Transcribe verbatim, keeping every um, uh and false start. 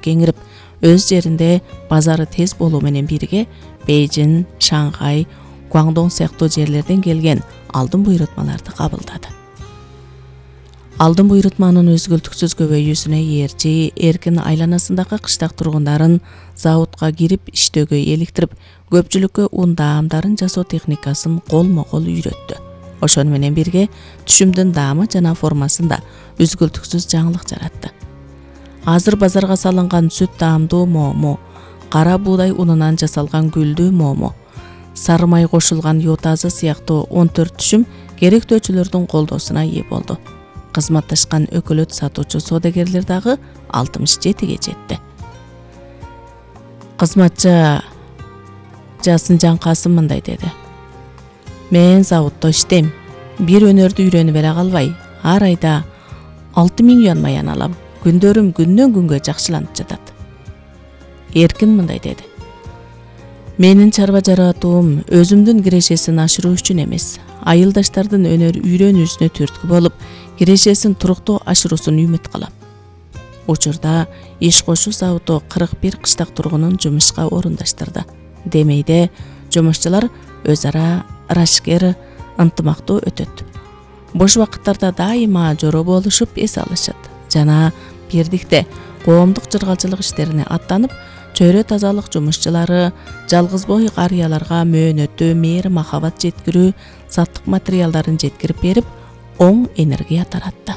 кеңирип, өз жеринде базары тез болуу менен бирге Бейжин, Шанхай, Гуандong сыяктуу жерлерден келген алдын буйрутмаларды кабылдады. Алдын буйрутманын өзгөлтүксүз көбөйүүсүнө ээрчи эркин айланасындагы кыштак тургундарын заводко кирип иштөөгө эликтирип, көпчүлүккө ун даамдарын жасоо техникасын колмо-кол үйрөттү. Ошону менен бирге түшүмдүн даамы жана формасында өзгөлтүксүз жаңылык жаратты. Азыр базарга салынган сүт даамдуу момо, кара буудай унунан жасалган гүлдүү момо, сары май кошулган йотазы сыяктуу он төрт түшүм керектөөчүлөрдүн колдоосуна ээ болду. Кызматташкан өкөлөт сатуучу соодагерлер дагы алтымыш жетиге жетти. Кызматчы Жасынжан Касым мындай деди: Мен заводдо иштейм. Бир өнөрдү үйрөнүп эле калбай, ар айда алты миң юан маян алам. Күндөрүм күндөн күнгө жакшыланып жатат. Эркин мындай деди: Менин чарба жаратуум өзүмдүн кирешесин ашыруу үчүн эмес, айылдаштардын өнөр үйрөнүүсүнө түрткү болуп, кирешесин туруктуу ашыруусун үмүт кылам. Учурда иш кошуу заводу кырк бир кыштак тургунун жумушка орундаштырды. Демейде жумушчулар өз ара ырашкер, ынтымактуу өтөт. Бош убакыттарда дайыма жоро болушуп эс алышат жана бирдикте коомдук жыргалчылык иштерине аттанып, чөйрө тазалык жумушчулары жалгыз бой карыяларга мөөнөтү, мээри махабат жеткирүү, саттык материалдарын жеткирип берип, оң энергия таратты.